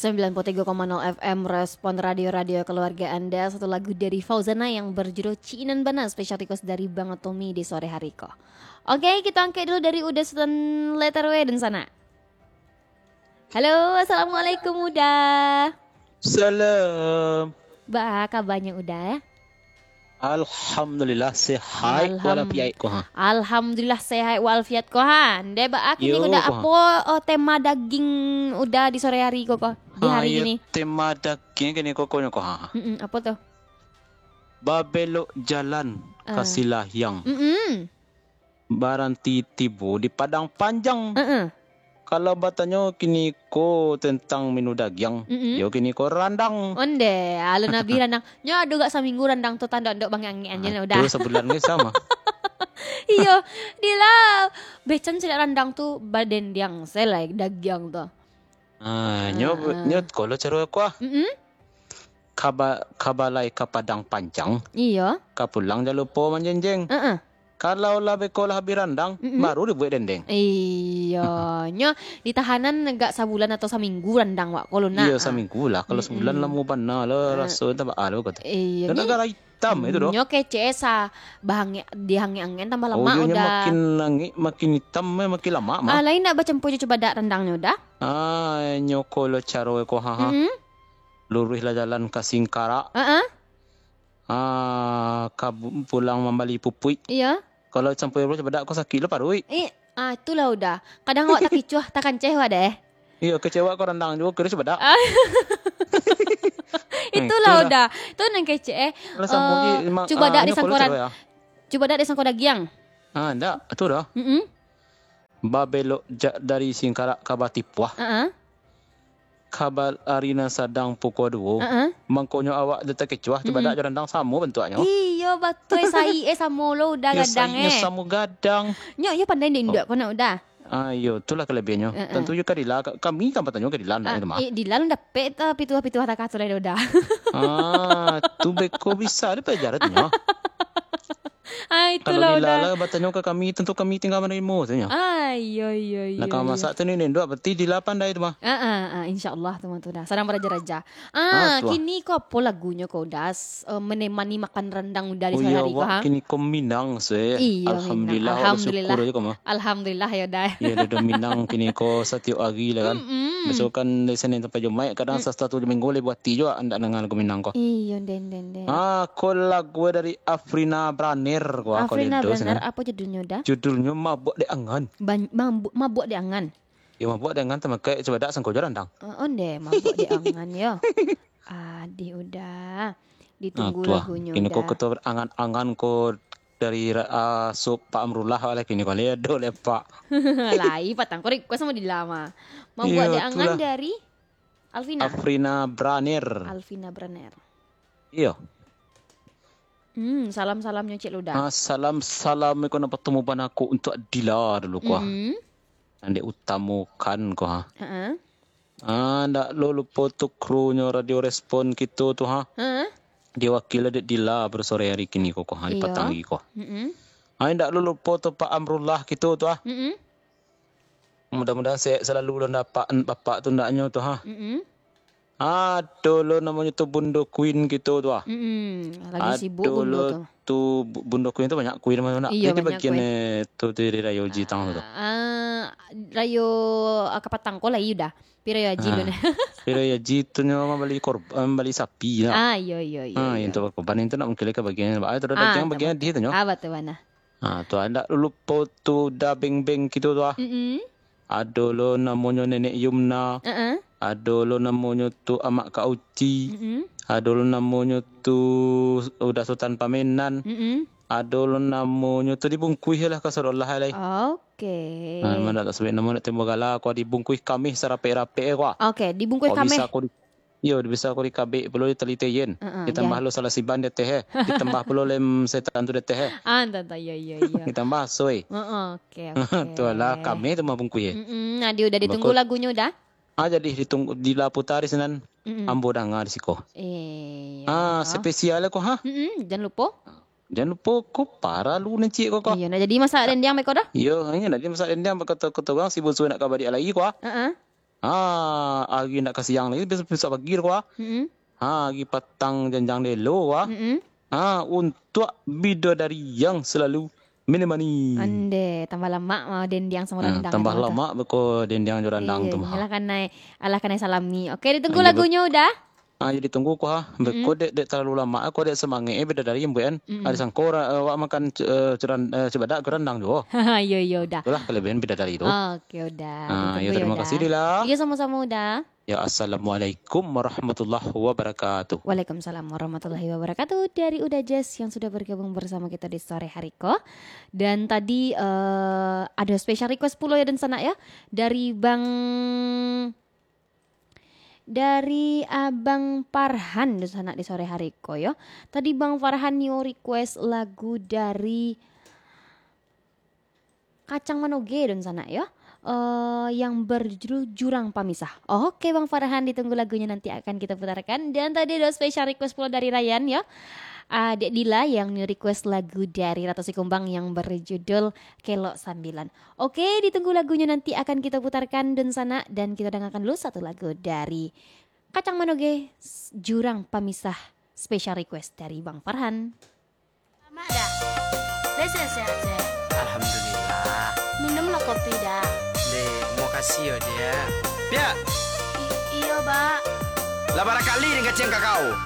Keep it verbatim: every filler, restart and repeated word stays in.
sembilan puluh tiga koma nol F M Respon Radio, radio keluarga Anda. Satu lagu dari Fauzana yang berjudul Cinan Bana, special request dari Bang Tommy di sore hari ko. Oke, kita angkat dulu dari Uda Sutan Letter W dan sana. Halo, assalamualaikum Uda. Salam. Ba, kabarnya Uda? Alhamdulillah, sehat Alham-, walafiat ko, ha. Alhamdulillah, sehat walafiat ko, ha. Ndeh, ba, kini Yo, Uda, ko, ha. apo, oh, tema daging Uda di sore hari ko, ko? Di Ha, hari iyo, kini? tema daging kini ko, konyo ko, ha. Mm-mm, apo tu? Babelok jalan Ah. ka Silahiang. Mm-mm. Baranti tibo di Padang Panjang. Heeh. Kalau batanyo kini ko tentang menu dagiang, Mm-mm. yo kini ko randang. Onde, alun abih randang. Nyo ado gak saminggu randang tu tando-tando bangek-angek anjir Ah, udah. tu sabulan ke sama. Iyo, dila. Becan silek randang tu badendiang selai dagiang tu. Ah, nyo, Heeh. nyo kolo caro kuah. Mm-mm. Kaba-, kabalai ka Padang Panjang, Iyo. ka pulang jan lupo manjenjeng. Heeh. Kalau lah beko lah abih randang, Mm-mm. baru dibuek dendeng. Iyo, nyo ditahanan agak sabulan atau saminggu randang wak, kalau nak. Iyo, saminggu lah. Kalau Mm-mm. sabulan lamo bana lah, Eh, raso tak baa lah, kata. Iyo, Dan ni agak hitam itu doh. Nyo kecek sa, bahangek, dihangek-angek tambah Oh, lamak iyo, nyo udah. makin angek, makin hitam, eh, makin lamak mah. Ah, lain nak bacampur jo cubadak randangnyo udah? Ah, nyo ko lo caro ko, ha, ha. Mm-mm. Luruih lah jalan ka Singkarak. Heeh. Ah, ka bu-, pulang mambali pupuik. Iyo. Kalau sampai rumah, cubadak ko sakik lo paruik. Eh, ah, itulah udah. Kadang awak takicuah, takanceh awak deh. Iyo, kecewa ko randang juo, kiro cubadak. Ah. Itulah Itulah. udah. Tu nan kecek, eh. Lah sambung Eh, je, ma-, cubadak ah, di nyo ko lo sangkoran. caro ya. Cubadak di sangko dagiang. Ah, ndak. Itu dah. Mm-mm. Babelok ja-, dari Singkarak ka Batipuah. Heeh. Ka ba-, ari nan sadang pukua duo. Heeh. Mangkonyo awak dek takecuah, Hmm. cubadak jo randang samo bantuaknyo. Iyo, batua, sai, eh, samo lo udah Yo, gadang, sainyo eh. samo gadang. Nyo, iyo pandai ndak induak Oh. ko nak udah. Ah, iyo, itulah kelebiahannyo. Heeh. Tantu yo ka Dila, ka-, kami kan batanyo ka Dila, ndak Ah, itu mah. eh, Dila alun dapek, ah, pituah-pituah takah tu lai udah. Ah, tu beko bisa, ada pelajaran tu nyo. Ah, Kalau itulah Dila udah. lah batanyo ka kami, tantu kami tingga manarimo, tu nyo. Ah, iyo, iyo, iyo, Nak ka iyo. masak tu ni, ni, ndak berarti Dila pandai tu mah. Ah, ah, ah, insyaallah tu mah tu dah. Sadang baraja-raja. Ah, Ah, tu ah. kini ko apo lagunyo ko udah, s-, eh, menemani makan randang udah di Oh, sore iyo, hari ko, awak ha? kini ko Minang, se. Iyo, Minang. Alhamdulillah, awak Alhamdulillah. bersyukur aja ko mah. Alhamdulillah, yo, dah. Iyo, dah, dah Minang kini ko satiok hari lah kan. Mm-mm. Biaso kan dari Senin sampai Jumaik, kadang Mm. sasatu minggu boleh buati juo, ndak nangah lagu Minang ko. Iyo, den, den, den. Ah, ko lagu dari Afrina Braner ko, ko Afrina Ledo Braner, sinan. apo judulnyo dah? Judulnyo Mabok Dek Angan. Ban-, mambu-, Mabok Dek Angan. Yo, mabok dek angan tamakai cubadak sangko jo randang. Oh, onde, mabok dek angan yo. Adih udah. Ditunggu Ah, tu ah. lagunyo Kini ko udah. ketua angan-angan ko dari ra-, ah, sup Pak Amrullah lah kini ko. Ledo le, Pak. Lai, patang ko request samo Dila mah. Mabok Iyo, dek angan itulah. dari Alvina. Afrina Braner. Alvina Braner. Iyo. Hmm, salam-salamnyo Cik Luda. Ah, salam-salam iko nan pertemu bana ko untuak Dila dulu ko, ah. Mm-mm. Nan diutamakan ko, ah. Heeh. Ah, ndak lo lupo tu krunyo Radio Respon kito tu, ha. Heeh. Diwakili dek Dila pada sore hari kini ko, ko, ha, di Iyo. patang hari ko. Mm-mm. Ah, ndak lo lupo tu Pak Amrullah kito tu, ah. Mm-mm. Mudah-mudahan sehat selalu lo ndak Pak, Bapak tu ndaknyo tu, ha. Mm-mm. Ado lo namonyo tu Bundo Queen kito tu, ah. Mm-mm. Lagi sibuk Ado Bundo lo tu. tu Bu-, Bundo Queen tu banyak queen mah nak. Iyo, Jadi banyak bagian, queen. eh, tu, tu dari Rayo Jitang tu. Ah, Rayo, ah, Kapatang ko lai udah. Pi Rayo Haji Ah. lo nah. Pi Rayo Haji tu nyo mambali korb-, eh, mambali sapi lah. Ah, iyo, iyo, iyo, Ah, iyo. yang tu korban itu nak mungkin ka bagian, ah, tu dah Ah, bagian, tu bagian betul. dia tu nyo. Ah, betul bana. Ah, tu ndak lupo tu Da Beng Beng kito tu, ah. Mm-mm. Ado lo namonyo Nenek Yumna. Heeh. Ado lo namonyo tu Amak Kak Uci. Mm-mm. Ado lo namonyo tu Uda Sutan Pamenan. Mm-mm. Ado lo namonyo tu dibungkuih lah ka Sadolah lai. Oke. Ah, mana tak sebut namo nak tembok gala, ko dibungkuih kamih sarapek-rapek ko. Oke, dibungkuih Ko kamih. bisa ko di Iyo, bisa ko dikabek pulo di tali teyen. Heeh, Ditambah ya. lo salah siban di ateh, eh. Ditambah pulo lem setan tu di ateh, eh. Ah, entah, entah. Iyo, iyo, iyo. Ditambah aso, eh. Heeh, oke, oke. Tu lah, kami tu mah bungkuih, eh. Mm-mm, nah, dia udah ditunggu Bako- lagunyo udah. Ah, jadi ditunggu, Dila puta di sinan. Mm-mm. Ambo danga di siko. Iya. Ah, spesial ko, ha? Mm-mm, jan lupo. Jan lupo ko, paralu nan ciek ko, ko. Iya, nah, jadi masak dendeng beko dah? Iyo, iya, nah, jadi masak dendeng beko to, ko to, urang si Bunsu nak ka baliak lai ko, ah. Heeh. Ah, ari ndak ka siang lai, besok, besok pagi tu, ah. Mm-mm. Ha, ari patang janjang delo, ah. Mm-mm. Ha, untuak bidadari yang salalu menemani. Ande, tambah lamak mah dendiang samo Ha, randang tambah tu, lamak beko dendiang jo randang Iya, tu mah. Alah kanai, alah kanai salami. Oke, ditunggu Ah, iya, lagunyo, Uda. Ah, jadi tunggu ko, ha. Beko Mm-mm. dek, dek talalu lamak, ko dek samangek, eh, bidadari, Mbok, kan. Mm-mm. Ado sangko ra-, awak makan, eh, curan-, eh, cubadak jo randang juo. Iyo, iyo, Uda. Itulah kelebihan bidadari tu. Oke, Uda. Ah, Ditunggu iyo, terima Uda. kasih, Dila. Iyo, samo-samo, Uda. Ya, assalamualaikum warahmatullahi wabarakatuh. Waalaikumsalam warahmatullahi wabarakatuh. Dari Uda Jazz yang sudah bergabung bersama kita di sore hari ko. Dan tadi, eh, ada special request pulo ya, dunsanak ya. Dari Bang, dari Abang Farhan, dunsanak, di sore hari ko yo. Tadi Bang Farhan nio request lagu dari Kacang Manoge, dunsanak yo. Eh, yang berjudul Jurang Pamisah. Oke, Bang Farhan, ditunggu lagunya, nanti akan kita putarkan. Dan tadi ada special request pulo dari Ryan yo. Ah, Dek Dila yang nio request lagu dari Ratu Sikumbang yang berjudul Kelok Sambilan. Oke, ditunggu lagunya, nanti akan kita putarkan, dunsanak, dan kita dengarkan dulu satu lagu dari Kacang Manoge, s-, Jurang Pamisah, special request dari Bang Farhan. Lamak, Da. Lai sehat-sehat, Da? Alhamdulillah. Minumlah kopi, Da. Dek, makasih yo, Dek. Piak! I-, iyo, Ba. Lah barakali den kaciang kakau.